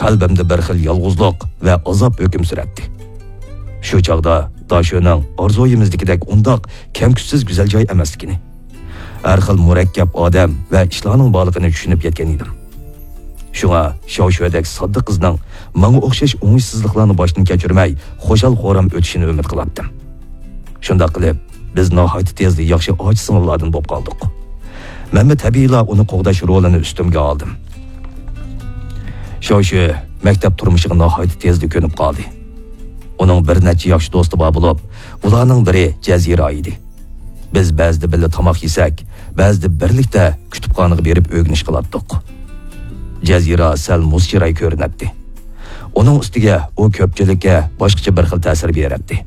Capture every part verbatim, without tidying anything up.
قەلبىمدە بىر خىل يالغۇزلۇق ۋە ئازاب ھۆكۈم سۈرەتتى. شۇ چاغدا داشۆنىڭ ئارزۇيىمىزدىكىدەك ئۇنداق كەم-كۈچسىز گۈزەل جاي ئەمەسلىكىنى، ھەر خىل مۇرەككەپ ئادەم ۋە ئىشلارنىڭ بارلىقىنى چۈشىنىپ يەتكەن ئىدىم. شۇڭا شياۋشۆدەك ساددا قىزنىڭ ماڭا ئوخشاش ئوڭۇشسىزلىقلارنى باشتىن كەچۈرمەي، خۇشال-خۇرام ئۆتۈشىنى ئۈمىد قىلاتتىم. شۇنداق قىلىپ، بىز ناھايىتى تېزلا ياخشى ئاچا-سىڭىللاردىن بولۇپ قالدۇق. مەنمۇ تەبىئىيلا ئۇنى قوغداش رولىنى ئۈستۈمگە ئالدىم. شياۋشۆ مەكتەپ تۇرمۇشىغا ناھايىتى تېزلا كۆنۈپ قالدى. ئۇنىڭ بىر نەچچە ياخشى دوستى بار بولۇپ، ئۇلارنىڭ بىرى جەزىرا ئىدى. بىز بەزىدە بىللە تاماق يېسەك، بەزىدە بىرلىكتە كۇتۇپخانىغا بېرىپ ئۆگىنىش قىلاتتۇق. جەزىرا سەل مۇز چىراي كۆرۈنەتتى. ئۇنىڭ ئۈستىگە ئۇ كۆپچىلىككە باشقىچە بىر خىل تەسىر بېرەتتى.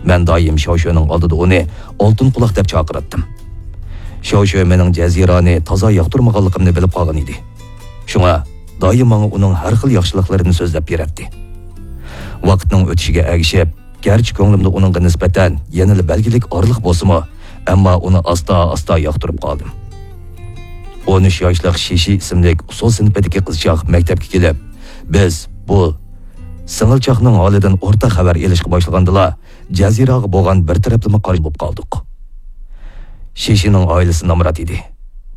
مەن دائىم شياۋشۆنىڭ ئالدىدا ئۇنى ئالتۇن قۇلاق دەپ چاقىراتتىم. شياۋشۆ مېنىڭ جەزىرانى تازا ياقتۇرمىغانلىقىمنى بىلىپ قالغان ئىدى. شۇڭا دائىم ماڭا ئۇنىڭ ھەر خىل ياخشىلىقلىرىنى سۆزلەپ بېرەتتى. ۋاقىتنىڭ ئۆتۈشىگە ئەگىشىپ، گەرچە كۆڭلۈمدە ئۇنىڭغا نىسبەتەن يەنىلا بەلگىلىك ئارىلىق بولسىمۇ، ئەمما ئۇنى ئاستا-ئاستا ياقتۇرۇپ قالدىم. ئون ئۈچ ياشلىق شىشى ئىسىملىك ئۇسسۇل سىنىپىدىكى قىزچاق مەكتەپكە كېلىپ، بىز بۇ سىڭىلچاقنىڭ ھالىدىن ئورتاق خەۋەر ئېلىشقا باشلىغاندىلا، جەزىراغا بولغان بىر تەرەپلىمە قارشى بولۇپ قالدۇق. شىشىنىڭ ئائىلىسى نامرات ئىدى.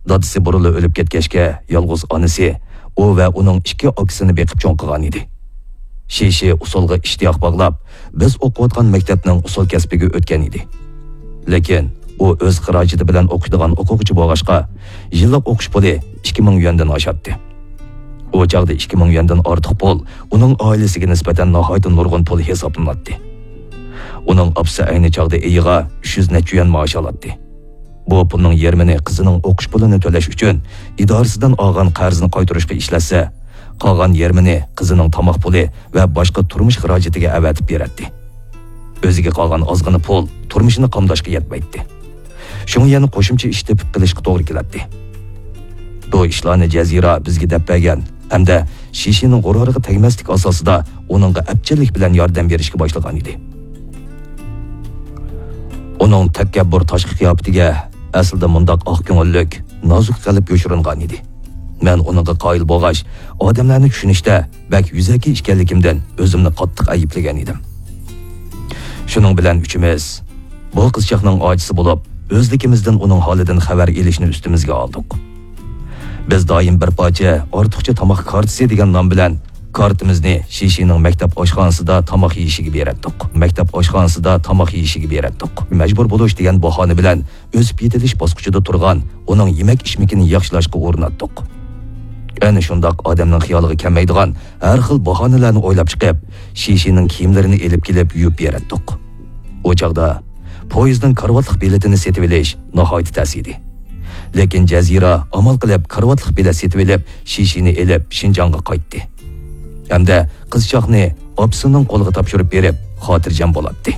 دادىسى بۇرۇنلا ئۆلۈپ كەتكەچكە، يالغۇز ئانىسى ئۇ ۋە ئۇنىڭ ئىككى ئاكىسىنى بېقىپ چوڭ قىلغان ئىدى. شىشى ئۇسسۇلغا ئىشتىياق باغلاپ، بىز ئوقۇۋاتقان مەكتەپنىڭ ئۇسسۇل كەسپىگە ئۆتكەن ئىدى. لېكىن ئۇ ئۆز خىراجىتى بىلەن ئوقۇيدىغان ئوقۇغۇچى بولغاچقا، يىللىق ئوقۇش پۇلى ئىككى مىڭ يۈەندىن ئاشاتتى. ئۇ چاغدا ئىككى مىڭ يۈەندىن ئارتۇق پۇل ئۇنىڭ ئائىلىسىگە نىسبەتەن ناھايىتى نۇرغۇن پۇل ھېسابلىناتتى. ئۇنىڭ ئاپىسى ئەينى چاغدا ئېيىغا ئۈچ يۈز نەچچە يۈەن مائاش ئالاتتى. بۇ پۇلنىڭ يېرىمىنى قىزىنىڭ ئوقۇش پۇلىنى تۆلەش ئۈچۈن ئىدارىسىدىن ئالغان قەرزنى قايتۇرۇشقا ئىشلەتسە، قالغان يېرىمىنى قىزىنىڭ تاماق پۇلى ۋە باشقا تۇرمۇش خىراجىتىگە ئەۋەتىپ بېرەتتى. ئۆزىگە قالغان ئازغىنا پۇل تۇرمۇشىنى قامداشقا يەتمەيتتى. شۇڭا يەنە قوشۇمچە ئىش تېپىپ قېلىشقا توغرا كېلەتتى. بۇ ئىشلارنى جەزىرا بىزگە دەپ بەرگەن ھەمدە شىشىنىڭ غۇرۇرىغا تەگمەسلىك ئاساسىدا ئۇنىڭغا ئەپچىللىك بىلەن ياردەم بېرىشكە باشلىغان ئىدى. ئۇنىڭ تەكەببۇر تاشقى قىياپىتىگە ئەسلىدە مۇنداق ئاق كۆڭۈللۈك، نازۇك قەلب يوشۇرۇنغان ئىدى. مەن ئۇنىڭغا قايىل بولغاچ، ئادەملەرنى چۈشىنىشتە بەك يۈزەكى ئىكەنلىكىمدىن ئۆزۈمنى قاتتىق ئەيىبلىگەن ئىدىم. شۇنىڭ بىلەن ئۈچىمىز بۇ قىزچاقنىڭ ئاچىسى بولۇپ، ئۆزلۈكىمىزدىن ئۇنىڭ ھالىدىن خەۋەر ئېلىشنى ئۈستىمىزگە ئالدۇق. بىز دائىم بىر پارچە ئارتۇقچە تاماق كارتىسى دېگەن نام بىلەن كارتىمىزنى شىشىنىڭ مەكتەپ ئاشخانىسىدا تاماق يېيىشىگە بېرەتتۇق. مەكتەپ ئاشخانىسىدا تاماق يېيىشىگە بېرەتتۇق. مەجبۇر بولۇش دېگەن باھانە بىلەن ئۆسۈپ يېتىلىش باسقۇچىدا تۇرغان ئۇنىڭ يېمەك-ئىچمىكىنى ياخشىلاشقا ئۇرۇناتتۇق. ئەنە شۇنداق ئادەمنىڭ خىيالىغا كەلمەيدىغان ھەر خىل باھانىلەرنى ئويلاپ چىقىپ، شىشىنىڭ كىيىملىرىنى ئېلىپ كېلىپ يۇيۇپ بېرەتتۇق. ئۇ چاغدا پويىزنىڭ كارىۋاتلىق بېلىتىنى سېتىۋېلىش ناھايىتى تەس ئىدى. لېكىن جەزىرا ئامال قىلىپ كارىۋاتلىق بېلەت سېتىۋېلىپ، شىشىنى ئېلىپ شىنجاڭغا قايتتى. ھەمدە قىزچاقنى ئاپىسىنىڭ قولىغا تاپشۇرۇپ بېرىپ، خاتىرجەم بولاتتى.